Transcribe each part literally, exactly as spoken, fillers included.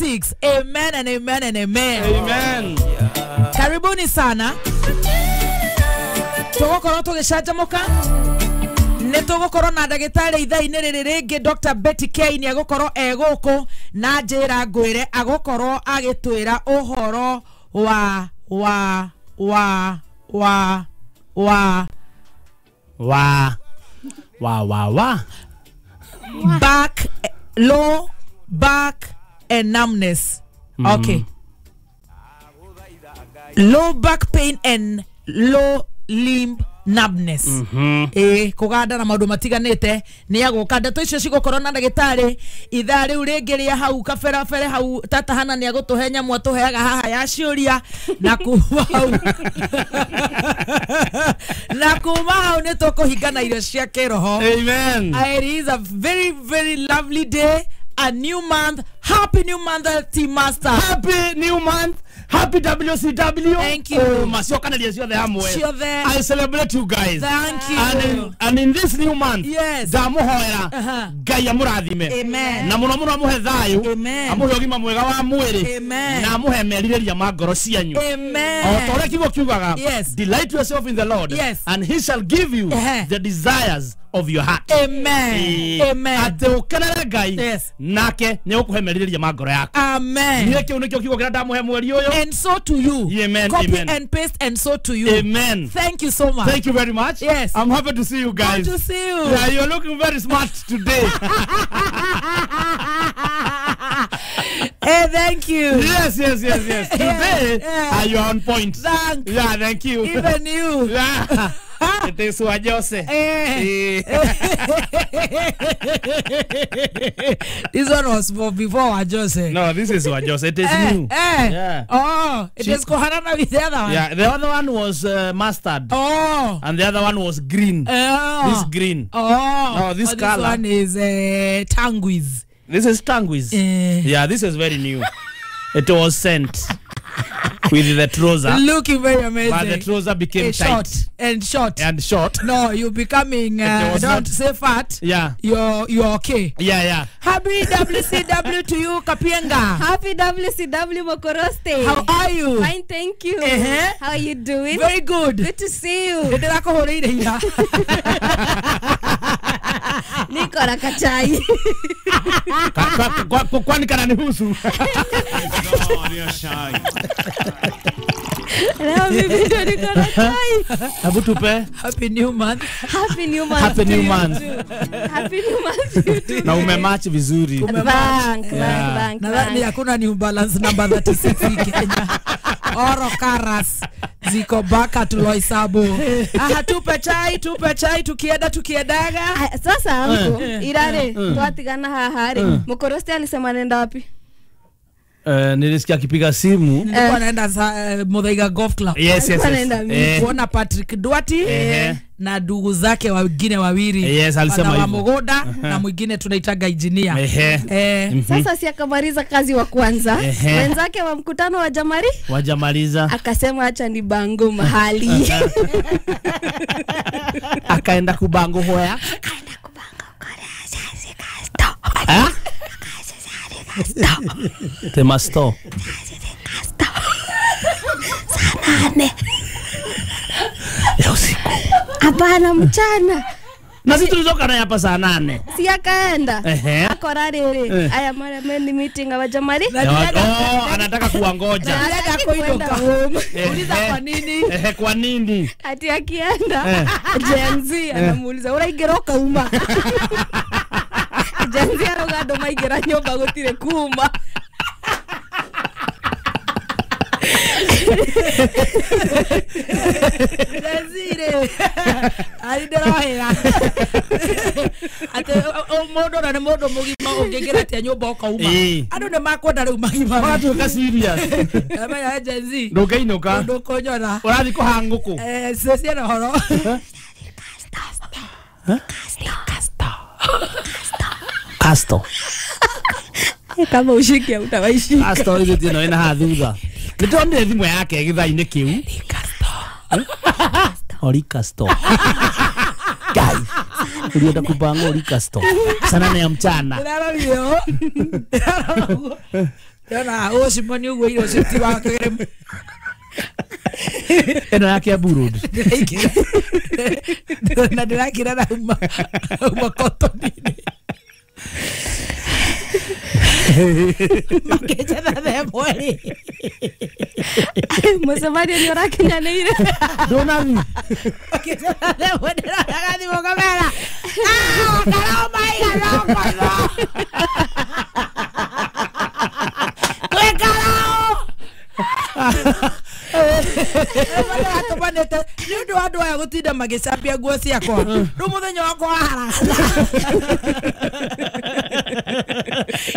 Six. Amen and amen and amen. Amen. Karibuni sana. Tũgũkorwo tũgĩcanjamũka. Nĩ tũgũkorwo na ndagĩtarĩ ithaa-inĩ rĩrĩ rĩngĩ Doctor Betty K nĩ egũkorwo e gũkũ na njĩra ngwĩre agũkorwo agĩtwĩra ũhoro wa wa wa wa wa wa wa wa wa back, low back and numbness. Mm. Okay. Low back pain and low limb numbness. Mm-hmm. Eh, kuganda na maundu matiganite ni aguka ndeto icio cigukorwo na ndagitari ithaa riu ringi ria hau kabera bere hau tata hana ni agutuhe nyamu atuheaga haha ya ciuria na kuma hau na kuma hau ni tukuhingana irio cia kiroho. Amen. It is a very very lovely day, a new month. Happy new month, Team Master. Happy new month. Happy W C W. Thank you. Oh, I celebrate you guys. Thank you. And in, and in this new month, yes. Ndamuhoera Ngai amurathime. Amen. Na muno muno amuhe thayu. Amen. Amuhe ugima mwega wa mwiri. Amen. Na amuhe merirĩria ma ngoro cianyu. Amen. O ta ũrĩa kiugo kiugaga, yes. Delight yourself in the Lord, yes. and he shall give you uh-huh. the desires of your heart. Amen. Amen. Atĩ ũkenere Ngai, yes. nake nĩ ũkũhe merirĩria ma ngoro yaku. Amen. Niĩ kĩu nĩkĩo kiugo kĩrĩa ndamuhe mweri ũyũ. And so to you. Amen. Copy amen. and paste and so to you. Amen. Thank you so much. Thank you very much. Yes. I'm happy to see you guys. Good to see you. Yeah, you're looking very smart today. Hey, thank you. Yes, yes, yes, yes. Today, yeah. uh, you're on point. Thank you. Yeah, thank you. Even you. Yeah. It is Wajose. Eh. This one was for before Wajose. No, this is Wajose. It is eh, new. Eh. Yeah. Oh, it She, is Kohanana with the other one. Yeah, the other one was uh, mustard. Oh. And the other one was green. Oh. This green. Oh. No, this oh, color. This one is uh, Tanguis. This is Tanguis. Eh. Yeah, this is very new. It was sent with the trouser. Looking very amazing. But the trouser became eh, tight. Short and short. And short. No, you're becoming, uh, don't not, say fat. Yeah. You're, you're okay. Yeah, yeah. Happy W C W to you, Kapienga. Happy W C W, Mokoroste. How are you? Fine, thank you. Uh-huh. How are you doing? Very good. Good to see you. Niko na kachai. Kwani kananihusu? Leo mimi ndo niko na chai. Hebu tupe. Happy new month. Happy new month. Happy new month. Happy new month. Na umematch vizuri. Bank, bank, bank. Nadhani hakuna New Balance number thirty-six Kenya. Oro Karas ziko baka tuloisabu. Aha, tupe chai, tupe chai tukienda tukiedaga. Sasa anko irare twatigana haha ri. Mokoroste alisema nenda wapi? Uh, nilisikia akipiga simu. Nilikuwa naenda uh, Muthaiga Golf Club. Yes, yes, yes. Eh. Kuona Patrick Duarte eh. na ndugu zake wengine wawili. Yes, alisema hivyo. Mogoda na mwingine tunaitaga engineer. Eh. Eh. Mm -hmm. Sasa si akamaliza kazi wa kwanza. Wenzake wa mkutano wa Jamari? Wajamaliza. Akasema acha ni bango mahali. Akaenda kubango hoya. Akaenda kubango korea. Ah? Temasto. Saa nane ya usiku. Hapana, mchana. Na sisi tulizoka naye hapa saa nane. Si akaenda. Akora rere. Aya mara meni meeting wa Jamari. Oh, anataka kuangoja. Anataka kuondoka. Uliza kwa nini? Eh, kwa nini? Ati akienda Gen Z anamuuliza uraingĩra ũkauma. Gen Z arauga andũ maingĩra nyũmba gũtirĩ kuma. Gen Z ari ndĩrohĩra atĩ mũndũ na nĩ mũndũ mũgima ũngĩingĩra atĩa nyũmba ũkauma. Andũ nĩ makwenda rĩu magima. Magatuĩka serious. Amenya Gen Z. Ndũngĩinũka. Ndũkũnyona. Ũrathiĩ kũha ngũkũ. Eh, ciana ũhoro. Casto. Kama ushike utawaishika. Casto hizo tena ina hathutha. Nĩndonire thimũ yake gĩthaa-inĩ kĩu. Ori Casto. Guy. Ulienda kupanga Ori Casto. Saa nane ya mchana. Ndĩrarorire ũũ. Ndĩrarora ũguo. Ndĩrona ũcimani ũguo irio ũcio ti wa kĩrĩmu. Ĩno ya Kiambu Road. Ndĩraikĩra na ndĩrakĩra na uma uma kotoni-inĩ. Makĩnjetha thaa ĩmwe rĩ. Mũcemanio nĩ ũrakinyanĩire. Ndũnathi. Makĩnjetha thaa ĩmwe ndĩroraga thimũ ngamera, "Ah, karao maigana ũguo." Twĩ karao. Atũmanĩte nĩ ũndũ wa andũ aya gũtinda magĩcambia nguo ciakwa rĩu mũthenya wakwa waharagana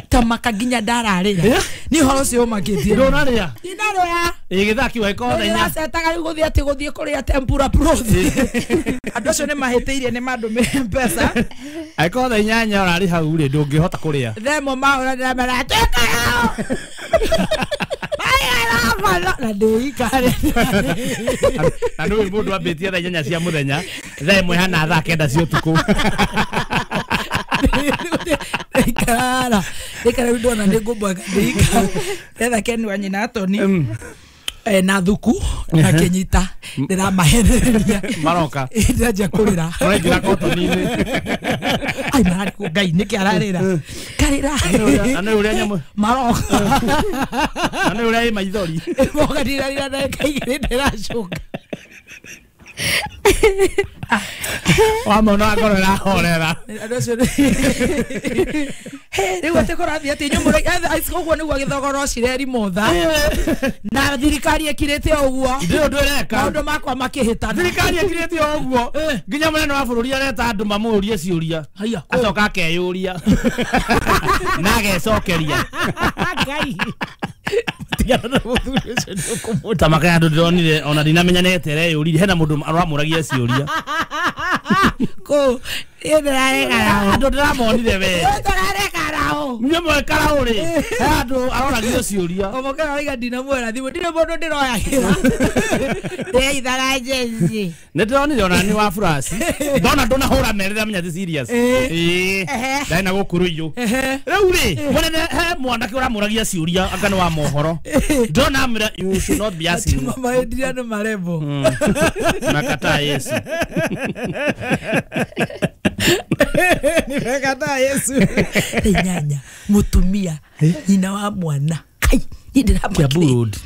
tamaka nginya ndararĩra nĩ ũhoro ũcio ũmakĩtie. Ndũnarĩa. Ndinarĩa. Ĩ gĩthaa kĩu angĩkorwo thaa inya. Ndĩracetaga rĩu gũthiĩ atĩ gũthiĩ kũrĩa tempura broth. Andũ acio nĩ mahĩtĩirie nĩ mandũmĩre mbeca. Angĩkorwo thaa inyanya ũrarĩ hau rĩ ndũngĩhota kũrĩa. Thaa ĩmwe mahũra ndĩramera twĩ karao. Na ndĩikare. Na nĩũĩ mũndũ ambĩtie thaa inyanya cia mũthenya thaa ĩmwe hana thaa kenda cia ũtukũ. Ndĩikara. Ndĩikara rĩu ndona nĩ ngũmboeka ndĩikara. Ndetha Ken wa nyina Tony na thuku na kĩnyita ndĩramahenereria. Maroka. Ndĩranjia kũrĩra. Maraingĩra kotoni-inĩ. Ai mararĩ kũ Ngai nĩkĩ ararĩra. Karĩra. Na nĩ ũrĩa nyamũ. Maroka. Na nĩ ũrĩa ĩ maithori. Moka ndirarĩra ndagĩka igĩrĩ ndĩracoka. Wamona ngoro ĩrahorera. Andũ acio rĩu atĩ kũrathiĩ atĩ inyuĩ mũrĩ ũguo nĩguo gĩthogoro cireri motha na thirikari ĩkirĩte o ũguo. Ndĩ ũndũ ĩreka. Maũndũ makwa makĩhĩtana. Thirikari ĩkirĩte o ũguo nginya mũnene wa bũrũri areta andũ mamũrie ciũria. Haiya. Acoka akeyũria na agecokeria. Ngai. Tigana na mũthuri ũcio nĩ ũkũmũta. Tamaka andũ ndĩronire ona ndinamenya nĩ etereyũririe hena mũndũ aramũragia ciũria. Kũ niĩ ndĩrarekara. Andũ ndĩramonire we. Ndĩrarekara. Niĩ mwekara ũrĩ. He andũ aroragia ciũria. Omokera arauga ndinamwĩra thimũ ndirĩ mũndũ ndĩroyagĩra. Ndĩraithaga njeci. Nĩ ndĩronire ona nĩ wa flash. Ndona ndũnahũra merĩ ndamenya ti serious. Ĩĩ. Ndarĩ na gũkũ rũiyũ. Rĩu rĩ mũnene he mwanake ũramũragia ciũria anga nĩ wa mohoro. Ndona amwĩra you should not be asking. Mama endiria nĩ marembo. Nakataa Yesu. Nimekataa Yesu. Inyanya mutumia nyina wa mwana. Kai niĩ ndĩramakire. Kiambu Road.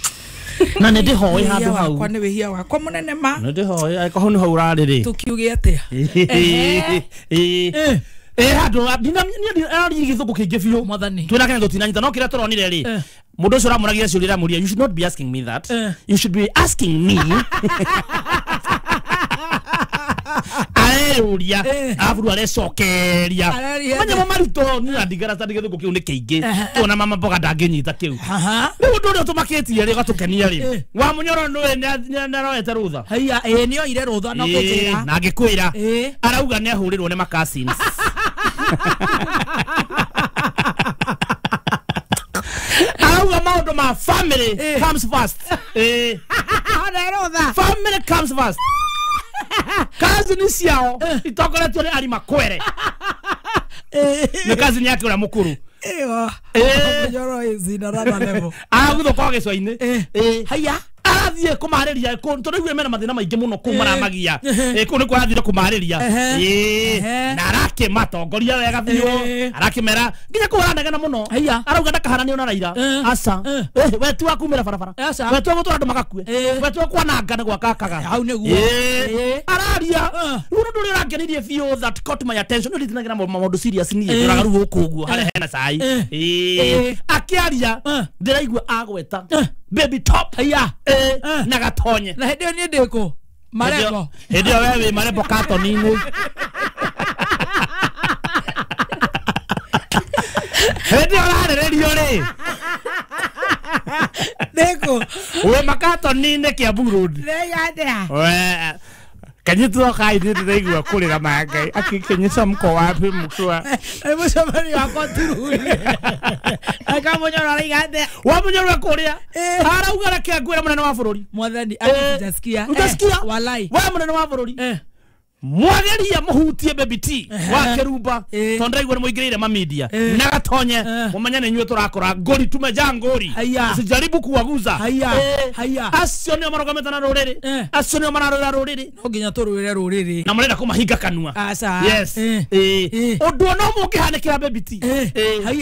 Na nĩ ndĩhoe handũ hau. Wakwa nĩ wĩhia wakwa mũnene ma. Nĩ ndĩhoe angĩkorwo hau nĩho ũrarĩ rĩ. Tũkiuge atĩa? Ĩĩ. Ĩĩ handũ niĩ araririe gĩthũngũ kĩingĩ biũ. Mwathani. Twĩna Kenya tũtinanyita no kĩrĩa tũronire rĩ. Mũndũ ũcio ũramũragia ciũria aramũria you should not be asking me that. You should be asking me. Areyũria arabu arecokeria. Manyamũ maritũ niĩ ndigara ta gĩthũngũ kĩu nĩ kĩingĩ. Tuona mama mboga ndangĩnyita kĩu. Rĩu ũndũ ũrĩa ũtũmakĩtie rĩ ũgatũkenia rĩ. Wa Mũnyoro nĩũĩ nĩaroete rũtha. Haiya ĩĩ nĩoire rũtha no kũnjĩra. Na ngĩkwĩra arauga nĩahũrĩrwo nĩ ma-cousins. Arauga maũndũ ma family comes first. Ĩĩ. Family comes first. Cousin ciao itongoretio nĩ Ari Makwere. Nĩ cousin yake ũrĩa mũkũrũ. Ĩyo. Mũnyoro is in another level. Araguthũka gĩcũa-inĩ. Ĩĩ. Haiya. Arathiĩ kũmarĩria tondũ rĩu mena mathĩna maingĩ mũno kũu maramagia. Ĩĩ kũu nĩkuo arathire kũmarĩria. Ĩĩ. Na arakĩmatongoria wega biũ. Arakĩmera nginya kũu aranegena mũno. Arauga ndakaharanio na Raila. Aca. We ti wa kumĩra barabara. We ti wa gũtwara andũ magakue. We ti wa kwananga na gwakakaga. Hau nĩguo. Ĩĩ. Araria. Rĩu ũndũ ũrĩa ũrangenirie biũ that caught my attention. Nĩ ndinagira maũndũ serious niĩ. Ndĩraga rĩu gũkũ ũguo harĩa hena cai. Ĩĩ. Akĩaria ndĩraigua agweta Baby Top. Haiya. Eh, na gatonye. Na hĩndĩ ĩyo niĩ ndĩ kũ? Marembo. Hĩndĩ ĩyo we wĩ marembo katoni-inĩ. Hĩndĩ ĩyo ũrarĩrĩrio rĩ. Ndĩ kũ? Wĩ makatoni-inĩ Kiambu Road. Ndĩraiga atĩa? We Kanyitwo kai ndĩraigua kũrĩra ma Ngai akĩnyita mko wapi mkiwa. Nĩ mũcemanio wakwa tururi. Aka Mũnyoro araiga atĩa? Wa Mũnyoro ekũrĩa. Arauga reke ngwĩre mũnene wa bũrũri. Mwathani Eh, sijasikia. Utasikia? Walai. We mũnene wa bũrũri. Eh. Mwageria muhutie Baby T wa Kerumba tondu ndaigua ni muingirire ma media na Gatonye mumenye ni inyuĩ turakora ngori tumeja ngori usijaribu kuwaguza. Haya haya acio nio marugamĩte na rũrĩrĩ, acio nio mararũĩra rũrĩrĩ, no nginya tũrũĩre rũrĩrĩ na mũrenda kũmahinga kanua. Aca. Yes. Ũndũ ona ũmwe ũngĩhanĩkĩra Baby T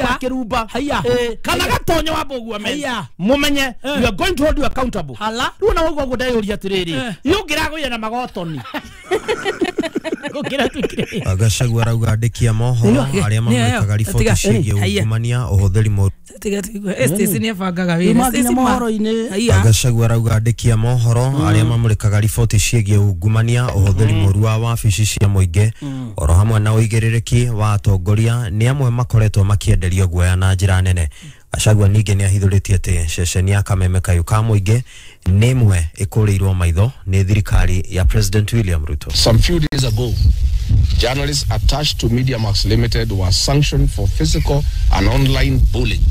wa Kerumba kana Gatonye wa Mbũgua mumenye we are going to hold you accountable. Rĩu ona ũguo ũguo ndeyũria atĩrĩrĩ, yũngĩragũire na magotoni. Gachagua arauga andĩki a mohoro arĩa mamwĩkaga riboti ciĩgiĩ ungumania ũhũthĩri mũru. Gachagua arauga andĩki a mohoro arĩa mamũrĩkaga riboti ciĩgiĩ ungumania ũhũthĩri mũru wa wabici cia mũingĩ oro hamwe na ũigĩrĩrĩki wa atongoria nĩ amwe makoretwo makĩenderio guoya na njĩra nene. Gachagua ningĩ nĩ ahithũrĩtie atĩ ceceni ya Kameme Kayũ ka mũingĩ nĩ ĩmwe ĩkũrĩirwo maitho nĩ thirikari ya President William Ruto. Some few days ago, journalists attached to MediaMax Limited were sanctioned for physical and online bullying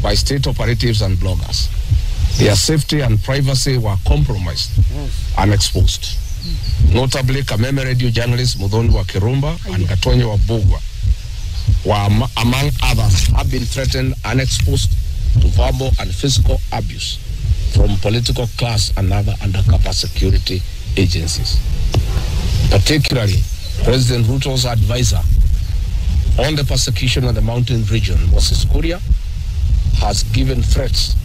by state operatives and bloggers. Their safety and privacy were compromised and exposed. Notably, Kameme Radio journalists Muthoni wa Kirumba and Gatonye wa Mbugua were, among others, have been threatened and exposed to verbal and physical abuse from political class and other undercover security agencies. Particularly, President Ruto's advisor on the persecution of the mountain region, Moses Kuria, has given threats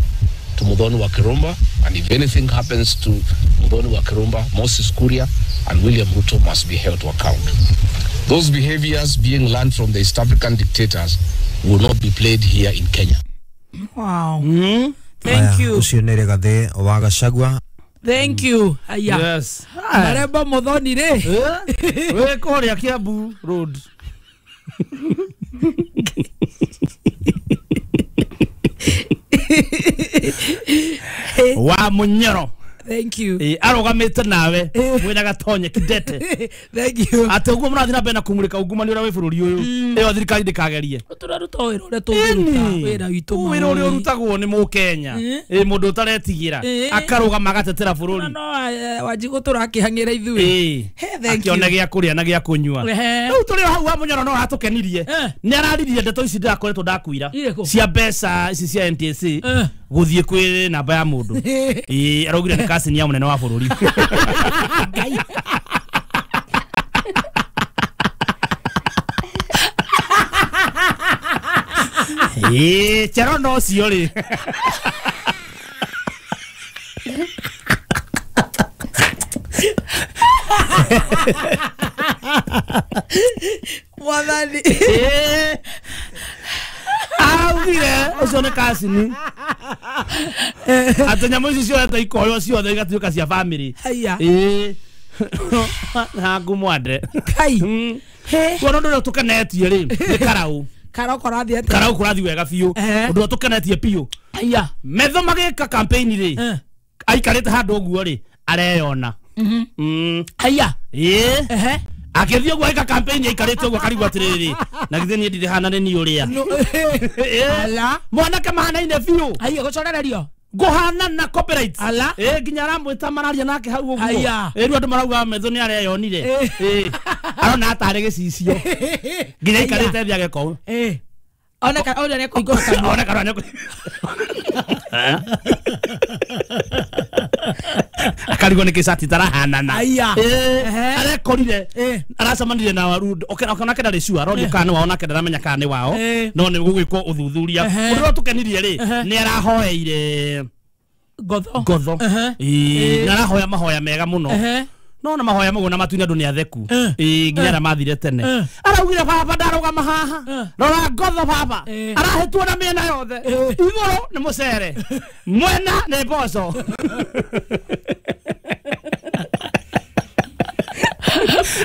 to Muthoni wa Kirumba, and if anything happens to Muthoni wa Kirumba, Moses Kuria and William Ruto must be held to account. Those behaviors being learned from the East African dictators will not be played here in Kenya. Wow. Mm. Thank you. Ucio nĩ Rigathĩ wa Gachagua. Thank you. Aya. Yes. Maremba Muthoni rĩ. Wĩ kũrĩa Kiambu Road. Wa Munyoro. Thank you. Eh, arugamite nawe mwina Gatonye Kidete. Thank you. Ate uguo murathi na mbere na kumurika ungumania uria wi bururi uyu. Iyo thirikari ndikagerie. Turaruta wira uria tungiruta wira witu. Wira uria urutagwo ni Mukenya. Eh, mundu utaretigira akarugama agatetera bururi. No Wanjigu turakihangira ithuĩ. Thank you. Akiona gia kuria na gia kunyua. Riu turi hau wa Munyoro no atukenirie. Ni araririe ndeto ici ndirakoretwo ndakuira. Cia mbeca ici cia N T S A guthie kwi namba ya mundu. Eh, araugire ni kasini ya munene wa bururi. Ngai. Eh, Cherono ucio ri. Mwathani. Eh. Augire ucio ni kasini. Ate nyamũ ici ciothe ikoywo ciothe igatuĩka cia family. Haya. Ĩĩ. Na ngumwande. Kai. Kuona ũndũ ũrĩa tũkenetie rĩ nĩ Karau. Karau kũrathiĩ atĩa? Karau kũrathiĩ wega biũ. Ũndũ ũrĩa tũkenetie biũ. Haya. Metho magĩka campaign rĩ. Aikarĩte handũ ũguo rĩ areyona. Mhm. Haya. Ĩĩ. Ehe. Akĩthiĩ ũguo agĩka campaign aikarĩte ũguo akarigwo atĩrĩrĩ na githĩ niĩ ndirĩ hana nĩ niĩ ũrĩa. Ala. Mwanake mahanaine biũ. Haya gũcorererio. Nguhana na copyright. Ala. Eh, nginya aramwĩta mararia nake hau ũguo. Aya. Eh, rĩu andũ marauga Metho nĩ areyonire. Eh. Arona atarĩ gĩcicio. Nginya aikarĩte thĩ ageka. Eh. Ona ka ona nĩekũhingũra kanua. Ona kanua nĩekũ. Akarigwo nĩ kĩcati tarahanana. Aya. Eh. Arekorire. Aracemanirie na Warundo. Onake ndarĩ sure, arorio kana nĩ wao nake ndaramenya kana nĩ wao. No nĩ gũgwĩkwo ũthuthuria. Ũndũ ũrĩa tũkenirie rĩ, nĩ arahoeire Ngotho. Ngotho. Ĩĩ, nĩ arahoya mahoya mega mũno. No na mahoya maguo na matuinĩ andũ nĩ atheku. Ĩĩ, nginya arĩa mathire tene. Araugire baba ndarũgama haha. Rora Ngotho baba. Arahĩtwo na mĩena yothe. Igũrũ nĩ mũcere. Mwena nĩ mboco.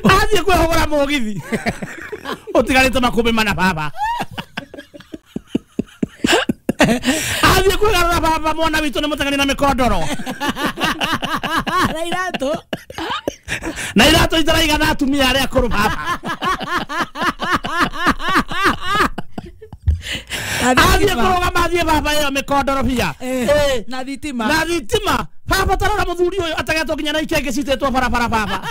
Athiĩ kwĩhũgũra mũgithi. Ũtigarĩte makũmbĩ mana baba. Athiĩ kwĩgarũra baba mwana witũ nĩ mũteng'eri na mĩkondoro. Na iratũ. Na iratũ itaraigana atumia arĩa akũrũ baba. Athiĩ kũrũgama athiĩ baba ĩyo mĩkondoro bia. Na thitima. Na thitima. Baba tarora mũthuri ũyũ ategetwo nginya na ikenge citĩtwo barabara baba.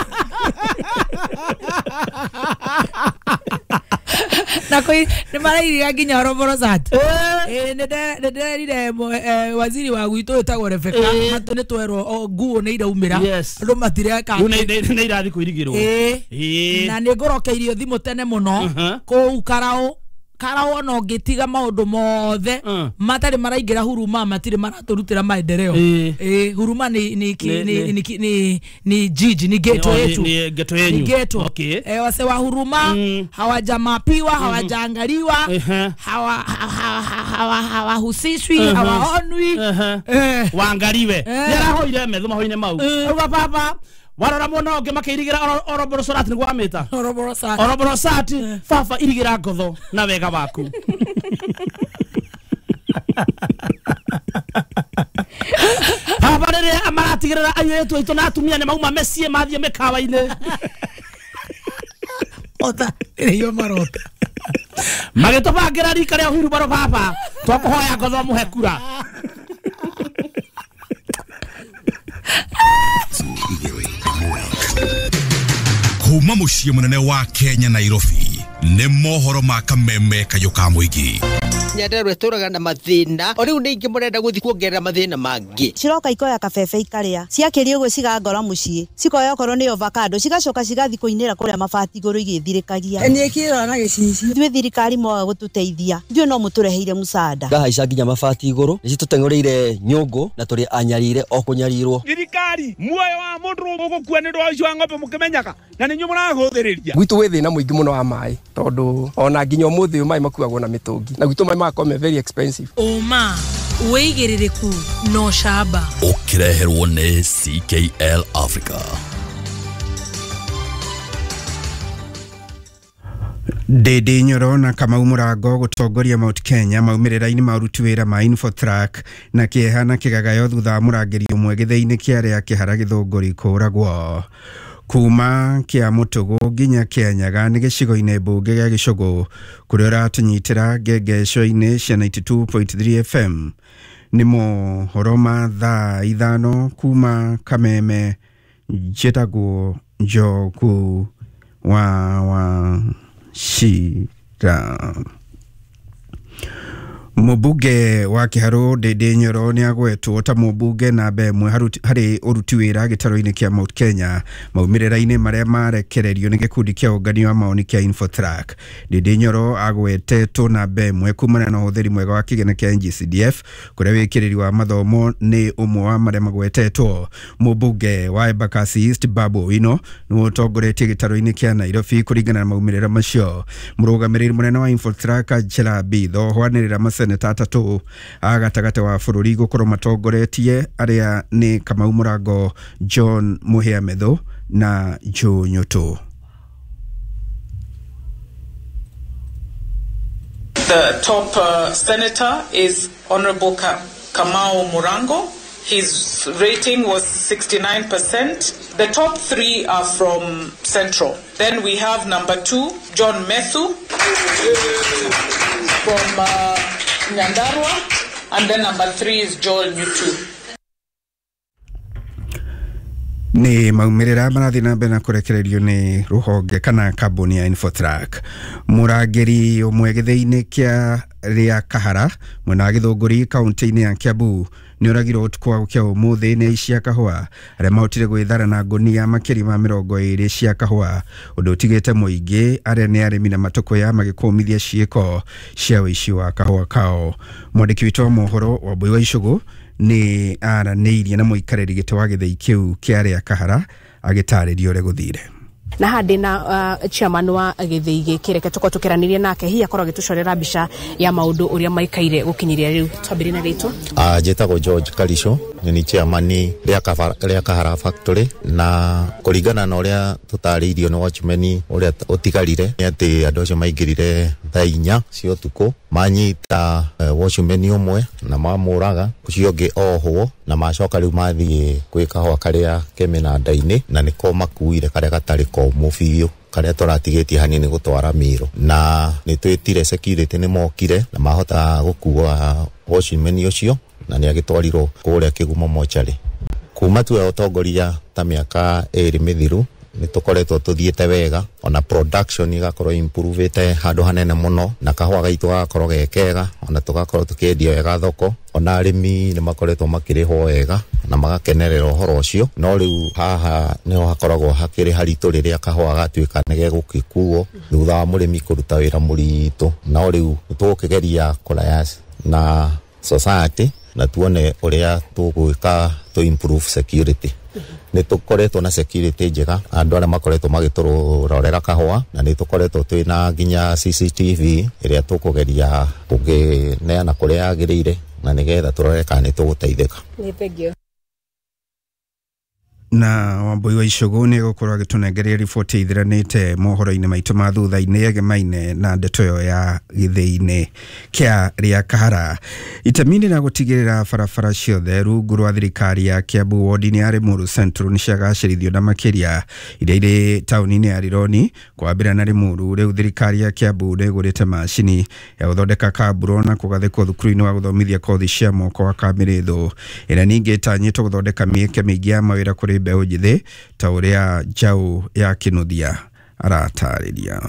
Na koi nĩ marairiga nginya Oroborosat. Eh nĩ ndĩrerire waziri wa gwitũ wĩtagwo Rebecca matũ nĩ twerwo nguo nĩ iraumĩra andũ matireka nĩ irathi kwĩrigĩrwo. Ĩĩ na nĩ ngũrokeirio thimũ tene mũno kũu Karau Karau ona ũngĩtiga maũndũ mothe matarĩ maraingĩra huruma matirĩ maratũrutĩra maendeleo. Ĩĩ huruma ni ni ni ni ni jiji ni ghetto yetu ni ghetto yenyu ni ghetto. Eh wase wa huruma hawajamapiwa hawajaangaliwa hawa hawahusishwi hawaonwi waangaliwe. Yarahoire metho mahoine mau uga baba warora mwana ũngĩ makĩirigĩra Oroborosat nĩguo amĩta Oroborosat Oroborosat baba irigĩra ngotho na wega waku. Baba rĩrĩa maratigĩrĩra airĩtu aitũ na atumia nĩ mauma meciĩ mathiĩ mĩkawa-inĩ ota rĩo marota magĩtũbangĩra rika rĩa hurubaro baba twakũhoya ngotho mũhe kura. Kuma muciĩ mũnene wa Kenya Nairobi nĩ mohoro ma kameme kayũ ka mũingĩ. Nyandarua ĩtũraga na mathĩna o rĩu nĩ ingĩ mũrenda gũthiĩ kuongerera mathĩna mangĩ. Ciroka ikoya kabebe ikaria ciakĩria ũguo cigangora mũciĩ cikoya okorwo nĩ avocado cigacoka cigathiĩ kũinĩra kũrĩa mabati igũrũ igĩthirĩkagia. Niĩ kĩrora na gĩcicio. Ithuĩ thirikari mwaga gũtũteithia ithuĩ no mũtũreheire mũcada. Ngahaica nginya mabati igũrũ nĩ citũteng'ũrĩire nyũngũ na tũrĩ anyarire o kũnyarirwo. Thirikari muoyo wa mũndũ ũgũkua nĩ ũndũ wa ũici wa ng'ombe mũkĩmenyaga na nĩ inyuĩ mũrahũthĩrĩria. Gwitũ gwĩ thĩna mũingĩ mũno wa maĩ tondũ ona nginya ũmũthĩ ũyũ maĩ makuagwo na mĩtũngi na gwitũ maĩ magakorwo me very expensive. Ũma wĩigĩrĩrĩku no camba ũkĩreherwo nĩ C K L Africa. Ndindi Nyoro na Kamau Mũrango gũtongoria Mount Kenya maumĩrĩra-inĩ ma ũruti wĩra ma Infotrack na kĩeha na kĩgagayo thutha wa mũrangĩri ũmwe gĩthĩi-inĩ kĩa arĩa Kĩhara Gĩthũngũri kũũragwo. Kuma kĩa Mũtũgũ nginya Kĩanyaga nĩ gĩcigo-inĩ mbunge gĩa Gĩcũgũ kũrĩa ũratũnyitĩra ngengeco-inĩ cia ninety two point three F M. Nĩ mohoro ma thaa ithano kuma Kameme. Njĩtagwo Njogu wa wa Shira. Mũmbunge wa Kĩharũ Ndindi Nyoro nĩ agwetwo ta mũmbunge namba ĩmwe harĩ ũruti wĩra gĩtarũ-inĩ kĩa Mount Kenya maumĩrĩra-inĩ marĩa marekererio nĩ gĩkundi kĩa ũngania wa maoni kĩa Infotrack. Ndindi Nyoro agwetetwo namba ĩmwe kumana na ũhũthĩri mwega wa kĩgĩna kĩa N G C D F kũrĩa wĩkĩrĩri wa mathomo nĩ ũmwe wa marĩa magwetetwo. Mũmbunge wa Embakasi East Babu Owino nĩwe ũtongoretie gĩtarũ-inĩ kĩa Nairobi kũringana na maumĩrĩra macio. Mũrũgamĩrĩri mũnene wa Infotrack Angela Mbitho hwanĩrĩra maseneta atatũ a gatagatĩ wa bũrũri gũkorwo matongoretie arĩa nĩ Kamau Mũrango, John Mũhĩa Methu na Joe Nyũtũ. The top uh, senator is Honorable Ka Kamau Murango. His rating was sixty-nine percent. The top three are from Central. Then we have number two, John Methu from uh, Nyandarua, and then number three is Joel Nyutu. Nĩ maumĩrĩra marathiĩ na mbere na kũrekererio nĩ rũhonge kana kambuni ya Infotrack. Mũrangĩri ũmwe gĩthĩi-inĩ kĩa rĩa Kahara mwena wa Gĩthũngũri kaunti-inĩ ya Kiambu nĩ oragirwo ũtukũ wa gũkĩa ũmũthĩ nĩ aici a kahũa arĩa mahotire gwĩthara na ngũnia makĩria ma mĩrongo ĩrĩ cia kahũa, ũndũ ũtigĩte mũingĩ arĩa nĩ arĩmi na matũkũya magĩkũmithia ciĩko cia ũici wa kahũa kao. Mwandĩki witũ wa mohoro Wambui wa Icũgũ nĩ aranĩirie na mũikarĩri gĩtĩ wa gĩthĩi kĩu kĩa arĩa Kahara agĩtarĩria ũrĩa gũthire. Na handi na uh, chairman wa gĩthĩi gĩkĩ reke tũkorwo tũkĩranĩria nake hihi akorwo agĩtũcorera mbica ya maũndũ ũrĩa maikaire gũkinyiria rĩu. Twambĩrĩrie na rĩtwa. Ah, njĩtagwo George Karico, nĩ chairman rĩa Kahara Factory, na kũringana na ũrĩa tũtarĩirio nĩ watchman ũrĩa ũtigarire nĩ atĩ andũ acio maingĩrire thaa inya cia ũtukũ manyita uh, watchman ũmwe na mamũraga, ũcio ũngĩ ohwo, na macoka rĩu mathiĩ gwĩ kahũa karĩa ke mĩnanda-inĩ na nĩko makuire karĩa gatarĩ komũ biũ karĩa tũratigĩtie hanini gũtwara miro, na nĩ twĩtire security nĩ mokire na mahota gũkua watchman ũcio na nĩ agĩtwarirwo kũrĩa Kĩgumo mocarĩ. Kuma tuoya ũtongoria ta mĩaka ĩrĩ mĩthiru nĩ tũkoretwo tũthiĩte wega, ona production igakorwo improvete handũ hanene mũno, na kahũa gaitũ gagakorwo ge kega, ona tũgakorwo tũkĩendia wega thoko, ona arĩmi nĩ makoretwo makĩrĩhwo wega na magakenerera ũhoro ũcio. No rĩu haha nĩho hakoragwo hakĩrĩ haritũ rĩrĩa kahũa gatuĩka nĩ gegũgĩkuo thutha wa mũrĩmi kũruta wĩra mũritũ. No rĩu tũgũkĩgeria kũraya na society na tuone ũrĩa tũgwĩka to improve security. Nĩ tũkoretwo na security njega, andũ arĩa makoretwo magĩtũrorera kahũa, na nĩ tũkoretwo twĩna nginya C C T V ĩrĩa tũkũgeria kũngĩneana kũrĩa yagĩrĩire, na nĩgetha tũrore kana nĩ tũgũteithĩka. Nĩ thengio. Na Wambui wa Icogo nĩ egũkorwo agĩtũnengeria riboti ithiranĩte mohoro-inĩ maitũ ma thutha-inĩ egemaine na ndeto ĩyo ya gĩthĩi-inĩ kĩa rĩa Kahara. Itemi-inĩ rĩa gũtigĩrĩra barabara ciothe rungu rwa thirikari ya Kiambu wodi-inĩ ya Limuru Central nĩ ciagacĩrithio na makĩria iria irĩ taũni-inĩ ya Rironi kwambĩrĩria na Limuru. Rĩu thirikari ya Kiambu nĩ ĩgũrĩte macini ya gũthondeka kamburo na kũgathĩkwo thukuru-inĩ wa gũthomithia kothi cia moko wa Kamĩrĩthũ, ĩrĩa ningĩ ĩtanyĩtwo gũthondeka mĩeke mĩingĩ ya mawĩra kũrĩ mbeũ njĩthĩ ta ũrĩa Njaũ ya Kĩnuthia aratarĩria.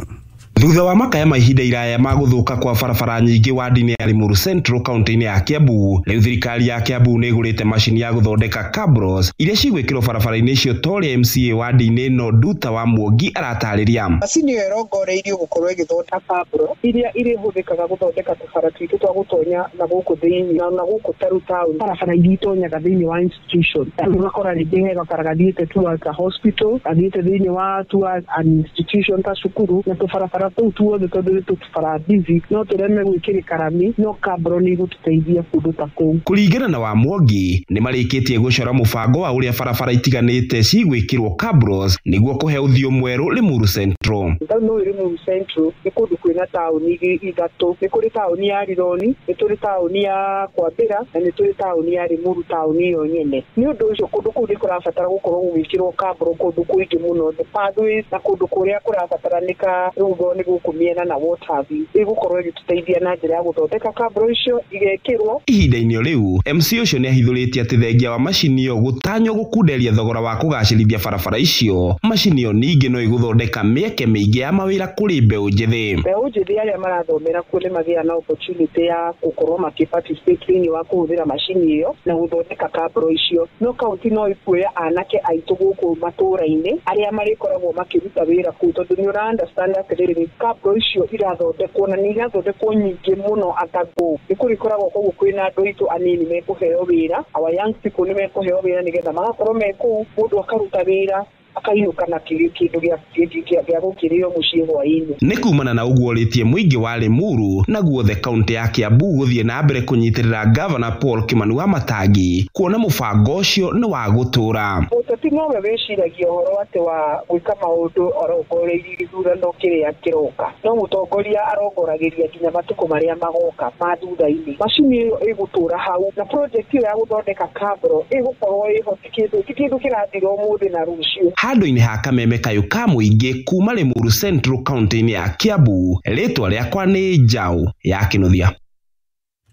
Thutha wa makaya ma ihinda iraya ma gũthũka kwa barabara nyingĩ wadi-inĩ ya Limuru Central kaunti-inĩ ya Kiambu, rĩu thirikari ya Kiambu nĩ ĩgũrĩte macini ya gũthondeka cabros iria cigwĩkĩrwo barabara-inĩ icio ta ũrĩa M C A wadi-inĩ ĩno Nduta wa Muongi aratarĩria. Macini ĩyo ĩrongoreirio gũkorwo ĩgĩthondeka cabro iria irĩhũthĩkaga gũthondeka tũbara twitũ twa gũtonya na gũkũ thĩinĩ na na gũkũ taru town, barabara iria itonyaga thĩinĩ wa institution. Ũgakora rĩngĩ he gabara gathiĩte towards a hospital, gathiĩte thĩinĩ wa towards an institution ta cukuru, na tũbarabara tũu tuothe tondũ nĩ tũbara busy no tũreme gwĩkĩrĩka rami, no kabro nĩ igũtũteithia kũndũ ta kũu. Kũringana na wa Mwangi, nĩ marĩkĩtie gũcora mũbango wa ũrĩa barabara itiganĩte cigwĩkĩrwo cabros nĩguo kũhe ũthiũ mwerũ Limuru Central. Taũni ũyũ Limuru Central nĩ kũndũ kwĩna taũni ithatũ, nĩ kũrĩ taũni ya Rironi, nĩ tũrĩ taũni ya Kwambĩra na nĩ tũrĩ taũni ya Limuru taũni ĩyo nyene. Nĩ ũndũ ũcio kũndũ kũu nĩ kũrabatara gũkorwo gũgĩkĩrwo kabro kũndũ kũingĩ mũno, the pathways na kũndũ kũrĩa kũrabataranĩka rũgo nĩ gũkũ mĩena na what have you, ĩgũkorwo ĩgĩtũteithia na njĩra ya gũthondeka kabro icio igekĩrwo. Ihinda-inĩ rĩu M C ũcio nĩ ahithũrĩtie atĩ thengia wa macini ĩyo gũtanywo gũkunderia thogora wa kũgacĩrithia barabara icio, macini ĩyo ningĩ no ĩgũthondeka mĩeke mĩingĩ ya mawĩra kũrĩ mbeũ njĩthĩ. Mbeũ njĩthĩ arĩa marathomera kuo nĩ magĩaga na opportunity ya gũkorwo makĩ-participate thĩinĩ wa kũhũthĩra macini ĩyo na gũthondeka kabro icio. No kaunti no ĩkuoya anake aitũ gũkũ matũũra-inĩ arĩa marĩkoragwo makĩruta wĩra kũu, tondũ nĩ ũra understand atĩrĩrĩ kabro icio irathondekwo na nĩ irathondekwo nyingĩ mũno atago nĩ kũrĩkoragwo koguo kwĩna andũ aitũ anini mekũheo wĩra, our young people nĩ mekũheo wĩra nĩgetha magakorwo me kũu, mũndũ akaruta wĩra akainũka na kĩndũ gĩa gũkĩrĩo mũciĩ hwaĩ-inĩ. Nĩ kumana na ũguo ũrĩtie mũingĩ wa Limuru na guothe kaunti ya Kiambu gũthiĩ na mbere kũnyitĩrĩra Gavana Paul Kimani wa Matangi kuona mũbango ũcio nĩ wa gũtũũra. Mũteti nowe wĩciragia ũhoro atĩ wa gwĩka maũndũ arongoreirie gĩthurano kĩrĩa kĩroka, no mũtongoria arongoragĩria nginya matukũ marĩa magoka ma thutha-inĩ. Macini ĩyo ĩgũtũũra hau na project ĩyo ya gũthondeka kabro ĩgũkorwo ĩho, ti kĩndũ ti kĩndũ kĩrathira ũmũthĩ na rũciũ. Handũ-inĩ ha kameme kayũ ka mũingĩ kuma Limuru Central kaunti-inĩ ya Kiambu, rĩtwa rĩakwa nĩ Njaũ ya Kĩnuthia.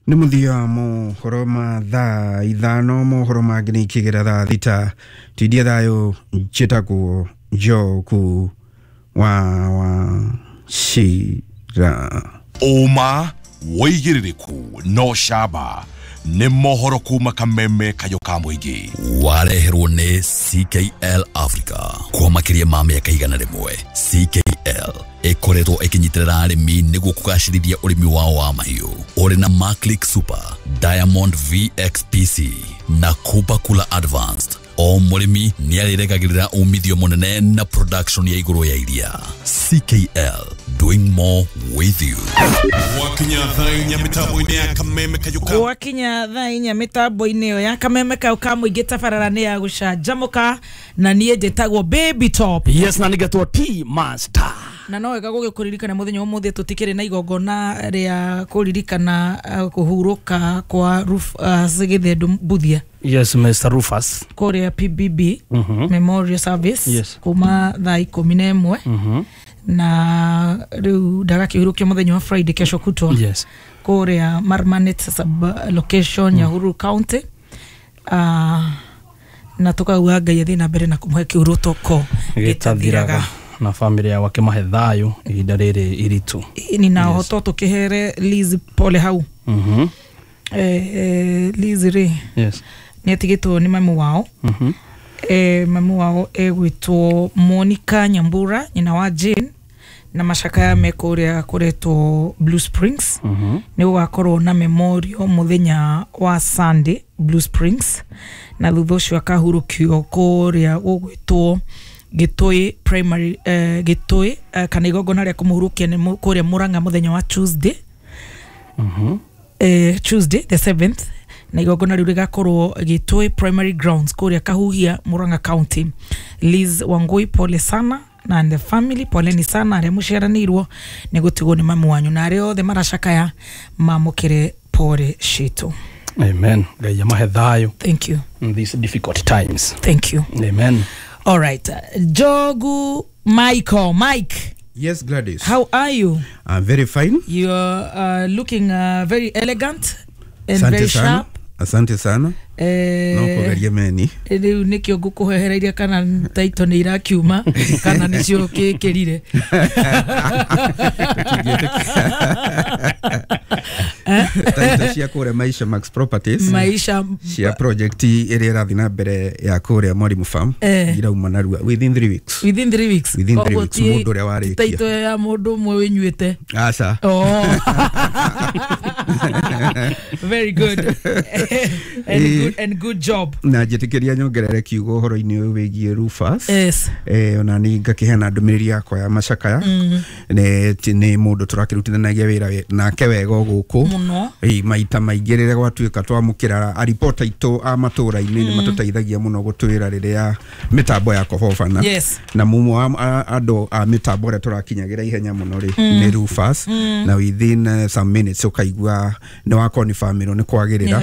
Nĩ mũthia wa mohoro ma thaa ithano, mohoro mangĩ nĩ ikĩgera thaa thita. Tindia thayũ, njĩtagwo Njoku wa Wachira. Ũma wĩigĩrĩrĩku no camba nĩ mohoro kuma kameme kayũ ka mũingĩ. Wareherwo nĩ C K L Africa kwa makĩria ma mĩaka igana rĩmwe. C K L ĩkoretwo ĩkĩnyitĩrĩra arĩmi nĩguo kũgacĩrithia ũrĩmi wao wa mahiũ. Ũrĩ na Maclick Super, Diamond V X P C na Kupa Kula Advanced. O mũrĩmi nĩ arĩregagĩrĩra umithio mũnene na production ya igũrũ ya iria. C K L, doing more with you. Wakinya thaa inya mĩtambo-inĩ ya kameme kayũ ka Wakinya thaa inya mĩtambo-inĩ ĩyo ya kameme kayũ ka mũingĩ tabarara nĩ ya gũcanjamũka, na niĩ njĩtagwo Baby Top. Yes, na nĩgetwo T Master. Na no wega gũgĩkũririkana mũthenya ũmũthĩ tũtikĩrĩ na igongona rĩa kũririkana kũhurũka kwa Rufus Gĩthendu Mbuthia. Yes, Mister Rufus. Kũrĩa P B B mm -hmm. Memorial Service. Yes. Kuma thaa ikũmi na ĩmwe. mm -hmm. Na rĩu ndagakĩhurũkio mũthenya wa Friday kesho kutwa. Yes. Kũrĩa Marmanet sub location mm. Nyahururu County. Uh, Na tukauga Ngai athii na mbere na kumuhe kiurutoko gitathiraga na family ya wake mahe thayo ihinda riri iritu. Ni na hoto tukihere Liz pole hau. Mhm. Eh, eh Liz ri. Yes. Ni atigitwo ni mamu wao. Mhm. Eh mamu wao egwitwo Monica Nyambura nyina wa Jane na macakaya me kuria kuretwo Blue Springs. Mhm. Ni gugakorwo na memorial muthenya wa Sunday Blue Springs na thutha ucio akahurukio kuria gugwitwo Gitui primary eh, Gitui eh, kana igongona ria kumuhurukia ni kuria Murang'a muthenya wa Tuesday. Mhm. Eh, Tuesday the seventh na igongona riu rigakorwo Gitui primary grounds kuria Kahuhia Murang'a County. Liz Wangui pole sana na and the family poleni sana aria muciaranirwo ni gutigwo ni mamu wanyu na aria othe maracakaya mamukire pole citu. Amen. Ngai amahe thayo. Thank you. In these difficult times. Thank you. Amen. All right. Jogu Michael. Mike. Yes, Gladys. How are you? I'm very fine. You are uh, looking uh, very elegant and Asante very sana. sharp. Asante sana. Eh, no kugeria meni. Riu nikio ngukuhehereiria kana taito ni irakiuma kana nicio kikirire. Taito cia kuria Maisha Max Properties. Maisha cia project iria irathi na mbere ya kuria Mwalimu Farm eh. irauma narua within three weeks. Within three weeks. Within three weeks mundu uria warikia. Taito ya mundu umwe winyuite. Aca. Oh. Very good. And good and good job. Na njitikiria nyongerere kiugo horo-ini uyu wigie Rufus. Yes. Eh ona ni ngakiheana ndumiriri yakwa ya macakaya. Mm. Ne ni mundu turakirutithanagia wira nake wega guku. Muno. Eh maita maingi rĩrĩa gwatuĩka twamũkĩra a reporter aitũ a matũra-inĩ nĩ matũteithagia mũno gũtwĩra rĩrĩa mĩtambo ya kũhobana. Yes. Na mumwe wa andũ a mĩtambo ũrĩa tũrakinyagĩra ihenya mũno rĩ nĩ Rufus. Mm. Na within uh, some minutes ũkaigua nĩ wakonfirmĩrwo nĩ kwagĩrĩra.